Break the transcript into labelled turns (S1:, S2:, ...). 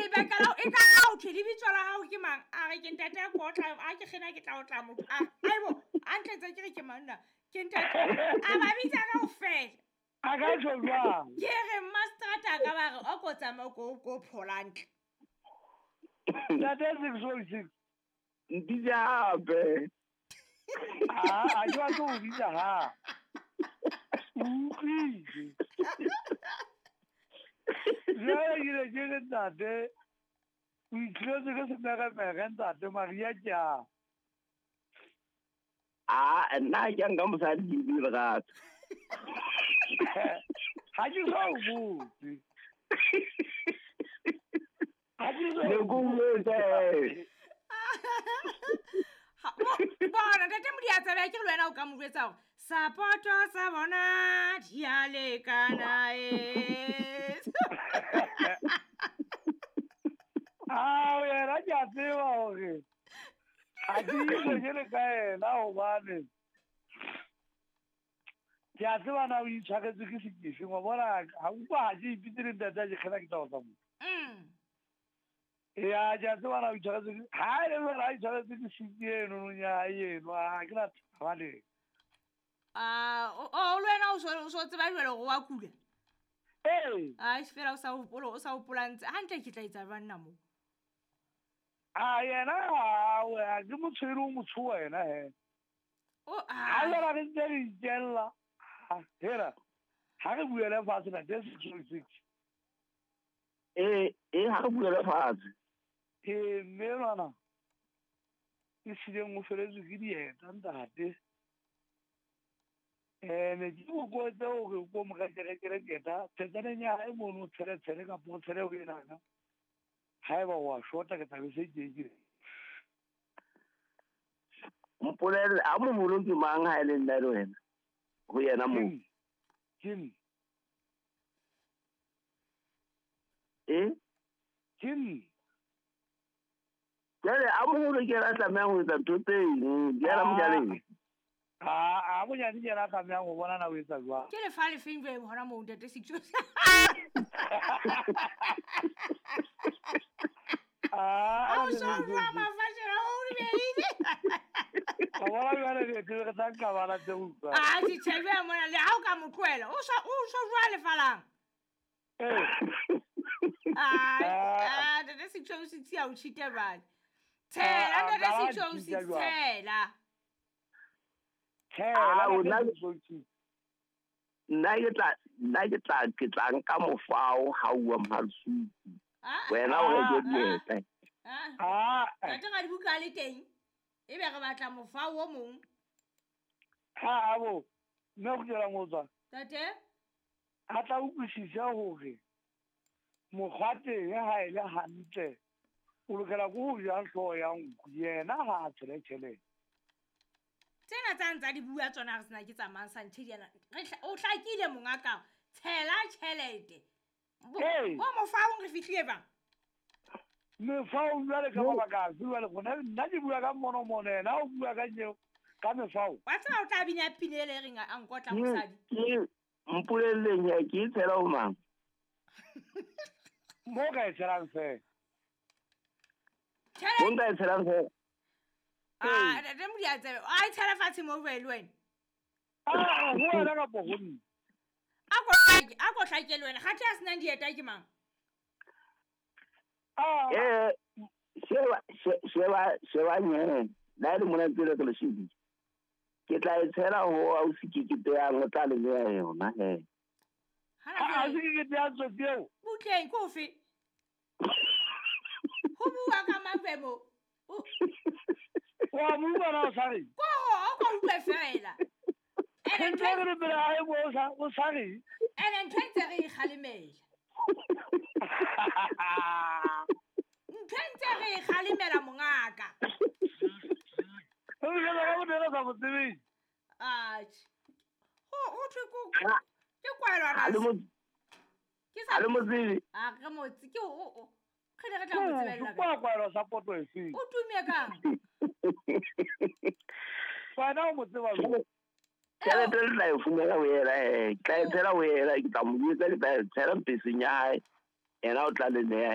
S1: Lebaka la e ka ha o thwe lebitso la hao ke mang? A re ke ntate a kotla, a ke kgena ke tla otla motho. A aibo, a ntletse ke re ke mang nna? Ke ntate. A ba bitsa kaofela.
S2: A ka tjho jwang?
S1: Ke re mmaseterata a ka ba re o ko tsamaya ko phola ntle.
S2: Ntate 606.
S3: Mpitse hape.
S2: A ke batle ho bitsa ha. O utlwile. Jwale ke ne ke re ntate, o itlhetse ke semeremere ntate Maria ke a.
S3: A nna ha ke a nka mosadi ke bue lerato.
S2: Ha ke so o botse. Ha ke so
S3: Ne ko botse.
S1: Bona ntate Modiatsebe ke le wena o ka mo jwetsa hore sapoto sa bona di a lekana e.
S2: Ah, yena ke a tseba hore ha ke itse ke le ka yena hobane ke a tseba na o itshwaretswe ke sekefeng, wa bona ha utlwa ha ke ipitse le ntate a ke kgena ke tla o tsa motho. Ya, ke a tseba na o itshwaretswe ke ha e le jwale ha itshwaretswe ke siki eno nong ya hae eno, ha ke na taba le.
S1: Ah, o le wena o so tseba jwale hore wa kula?
S2: Ee.
S1: Ai, fela o sa hopola, o sa hopola ntse. Hantle ke tla etsa jwang nna moo?
S2: A yena ha o ya ke motho o motho wena he.
S1: O
S2: Ha
S1: a
S2: jwale re ntse re itjella. Hera. Ha re buele fatshe na 606.
S3: Ha re buele fatshe.
S2: Mme ngwana e sileng o feletswe ke dieta ntate. Ne ke o kotse hore o ko mo rekerekere keta tsetsaneng ya hae mono o tshele tshele kapa o tshele ho enana. Haeba wa shota ke tla be se ke ke.
S3: Mpolelle a moholo ke mang ha e le nna le wena? Ho yena moo.
S2: Ke nna.
S3: Eh?
S2: Ke nna.
S3: Jwale a moholo ke yena a tlamehang ho etsa ntho tse eng, ke yena mojaleng.
S2: A monyane ke yena a tlamehang ho bona na o etsa jwang.
S1: Ke lefa lefeng jwale hona moo ntate Sixo?
S2: Ah,
S1: o so jwa mafatsheng a o beile.
S2: Wa bona jwale re re tla nka bana tse utlwa.
S1: Ah, ke tjhebe mona le ha o ka mo tlohela, o so jwa lefalang.
S2: Eh.
S1: Ah, ntate Sixo o sitsi a o cheat-a jwale. Tshela ntate Sixo o sitsi tshela.
S2: Tshela
S3: nna ke tla nka mofao ha uwa Mhalsuku. Wena o reke dieta.
S1: Ntate ga dibuka le teng. Ebe re batla mofao o mong.
S2: Ha bo mme o kgutlela motswa.
S1: Ntate?
S2: A tla utlwisisa hore mokgwa teng ha e le hantle o lokela ke ho ja hlooho ya nku, yena ha a tshele tjhelete.
S1: Tsena tsa ntsa di bua tsona re sena ke tsamayang sa nthe diana. O hlakile monga ka. Tshela tjhelete. Bo mofaong re fihlile bang?
S2: Mefao jwale ka mabaka afe jwale gona nna ke bua ka monomono yena o bua ka nyeo ka mefao.
S1: Wa tseba o tla bina pina ele reng a nkotla mosadi.
S3: Ke mpolelleng ya ke tshela ho mang?
S2: Mo ka e tshelang fela.
S3: Mo ka e tshelang fela.
S1: Ah, ntate Modiatsebe, a e tshela fatshe mo jwale le wena.
S2: Ah, ho wena kapa ho nna?
S1: A ko hlake le wena, kgathe a senang dieta ke mang?
S2: Ah.
S3: Sheba nyene. La le mona tsela ke le shebile. Ke tla e tshela ho ausi ke ke teyang o tla le beha yona he.
S2: Ha se ke teyang tsotsi eo.
S1: Butleng ke ofe? Ho bua ka mang mo?
S2: Wa mo utlwa na o sa reng?
S1: Ko ho o ko utlwe fela. Ene
S2: ntho e re pele ha e bo o sa reng?
S1: Ene ntho e ntse re e kgalemela. Ntho e ntse re e kgalemela mongaka.
S2: O re ka mo dira sa motsebeng.
S1: Atjhe. Ho thwe ko ke kwalwa na. Ke sa
S3: le motsebe.
S1: A re motse ke o re ne re tla mo tsebella
S2: ka. Kwa sa poto e feng?
S1: O tume kang?
S2: Wena o mo tseba jwang?
S3: Tjhelete le tla e fumana ho yena, ke tla e tshela ho yena, ke tla mo jwetsa ke tla e tshela mpeseng ya hae. Yena o tla le neha.